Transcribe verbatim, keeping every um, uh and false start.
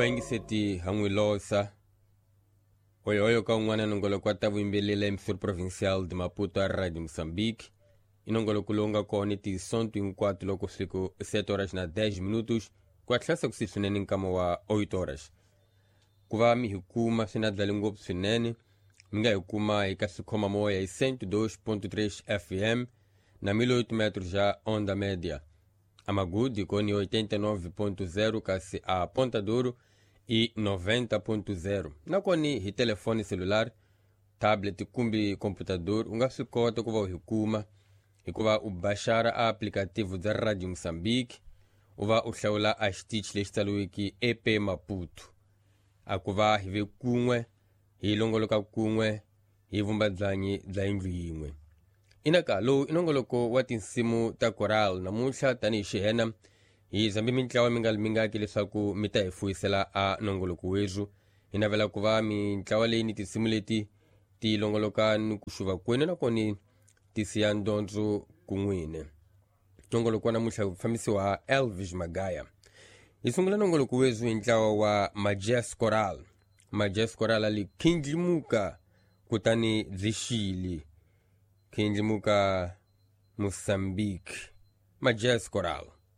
Vayingiseti ha n'wi losa oyoyo ka un'wana nongoloko wa ta vuyimbelela emissor provincial de Maputo a Radio Moçambique. I nongoloko lowu nga kona tisonto hinkwato loko siku sete horas na dez minutos ku hatlisa ku swinene nkama wa oito horas. Ku va mi hi kuma swi na dlali ngopfu swinene, mi nga hi kuma eka swikhoma-moya hi cento e dois ponto três F M na mil e oito metros já onda média. A Magude com oitenta e nove ponto zero, kasi a Ponta Douro e noventa ponto zero. Nakoni hi telefone celular, tablet kumbe computador, u nga swi kota ku va u hi kuma hikuva u baxara a aplicativo dza Radio Moçambique, u va u hlawula a xitichi lexi tsariweke E P Maputo. A ku va hi ve kun'we, hi longoloka kun'we, hi vumba byanyi bya yindlu yin'we. Inaka lowu i nongoloko wa tinsimu ta coral. Namuntlha tanihi xihena hi zambe mintlawa mi nga mingaki leswaku mi ta hi fuyisela a nongoloko wethu. Hi navela ku va mintlawa leyi ni tinsimu leti ti longoloka ni ku xuva kwenu nakona ti siya ndyondzo kun'wini. Nongoloko wa namuntlha wu fambisiwa Elvis Magaya. Hi sungula nongoloko wethu hi ntlawa wa Majes Coral. Majes Coral ali khindlimuka kutani byi xile. Khindlimuka Moçambique. Majes Coral.